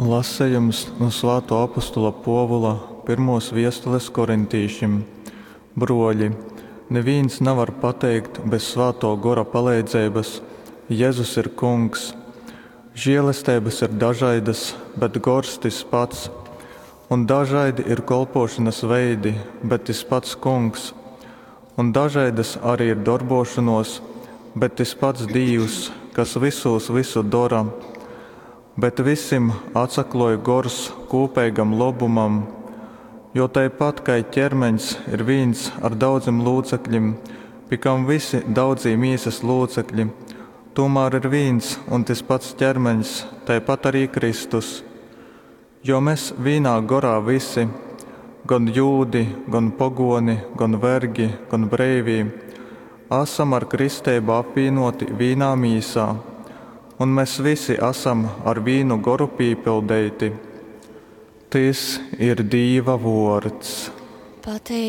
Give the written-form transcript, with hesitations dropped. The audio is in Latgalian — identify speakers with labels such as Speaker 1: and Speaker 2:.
Speaker 1: Lasejums nu svātuo apostola Puovula pyrmuos viestules korintīšim. Bruoļi, nivīns navar pateikt bez Svātuo Gora paleidzeibys, Jezus ir Kungs! Žielesteibys ir dažaidys, bet Gors tys pats. Un dažaidi ir kolpōšonas veidi, bet tys pats Kungs. Un dažaidas ari ir dorbōšonōs, bet tys pats Dīvs, kas vysūs vysu dora. Bet visim atsaklōj Gors kūpeigam lobumam. Jo tai pat kai kermeņs ir vīns ar daudzim lūcekļim, pi kam visi daudzī mīsas lūcekļi, tūmār ir vīns un tys pats ķermeņs, tai pat arī Kristus. Jo mes vīnā gorā visi, gon jūdi, gon pogōni, gon vergi, gon breivī, asam ar kristeibu apvīnōti vīnā mīsā un mes visi asam ar vīnu Goru pīpildeiti. Tys ir Dīva vōrds.
Speaker 2: Pateiceiba.